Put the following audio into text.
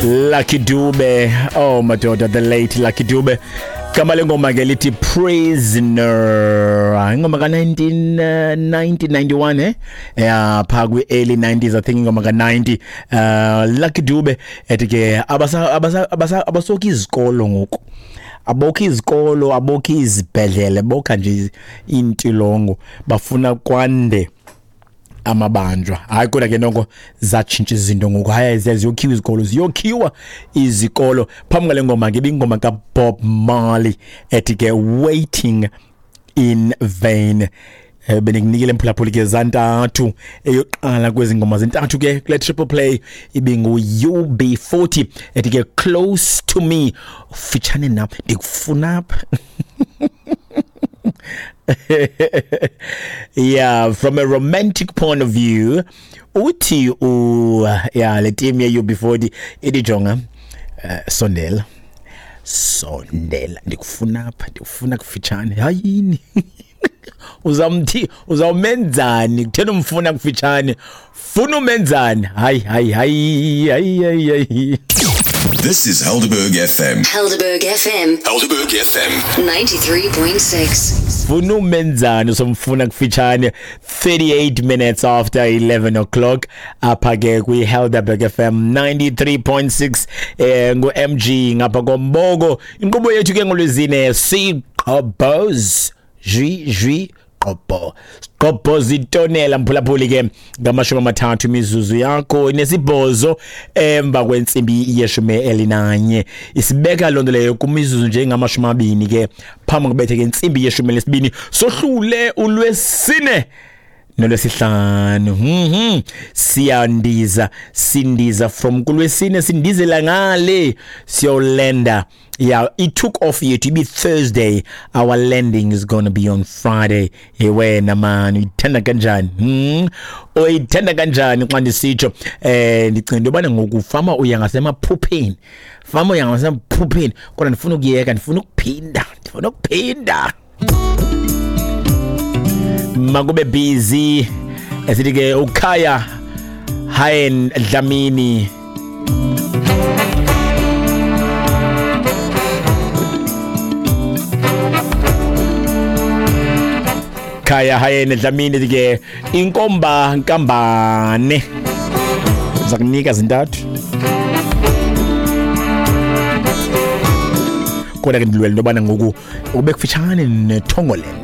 Lucky Dube, oh madoda, the late Lucky Dube. Gama lengoma ke lithi Prisoner. Ingoma ka 1991 eh. Yeah, pha kwi early 90s, I think ingoma ka 90. Lucky Dube ethi ke abasa abasa abasa abasoki izikolo ngoku. Abokho izikolo, abokho izibhedlele, bokha nje intilongo, bafuna kwande amabanjwa. Hayi, kodwa ke noko zatshintsha izinto ngoku. Hayi, ziyokhiwa izikolo, ziyokhiwa izikolo. Phambi kwale ngoma ke ibingoma kaBob Marley ethi ke Waiting in Vain. Bendikunikile mphulaphuli ke zantathu. Eyoqala kwezi ngoma zintathu ke kule triple play ibingu-UB40 ethi ke Close to Me, fitshane nam, ndikufuna apha. Yeah, from a romantic point of view, uthi u yeah, le team ye UB40 ithi jonga, sondela, sondela, ndikufuna apha, ndikufuna kufitshane. Hayini, uzamthi uzawumenzani? Kutheni umfuna kufitshane? Funa umenzani? Hayi, hayi, hayi, hayi, hayi, hayi. This is Helderberg FM. Helderberg FM. Helderberg FM. 93.6. Funa umenzani usomfuna kufitshane? 38 minutes after 11 o'clock apha ke kwi-Helderberg FM 93.6, ngu-MG ngapha komboko. Inkqubo yethu ke ngolwezine siqobos jwi jwi qobo qobo zitonela mphulaphuli ke ngama-38 imizuzu yakho 8 emva kwentsimbi ye-11. Isibeka loo nto leyo kumizuzu njengamashumi abini ke phambi kubethe ke intsimbi ye-12. Sohlule ulwesine nolwesihlanu. Siyandiza, sindiza from kulwesine, sindizela ngale siyolenda. Yeah, it took off yethu ibi Thursday, our landing is going to be on Friday. Wena man, uyithanda kanjani? Uyithanda kanjani xa ndisitsho? Ndicinga into yobana ngoku fama uya ngasemaphupheni, fama uya ngasemaphupheni, kodwa ndifuna ukuyeka, ndifuna ukuphinda, ndifuna ukuphinda. Makube busy esithi ke uKhaya Hayen Dlamini. Khaya Hayen Dlamini ke inkomba nkambane zakunika zintathu, kodwa ke ndilwela into yobana ngoku ube kufitshane neThongoland.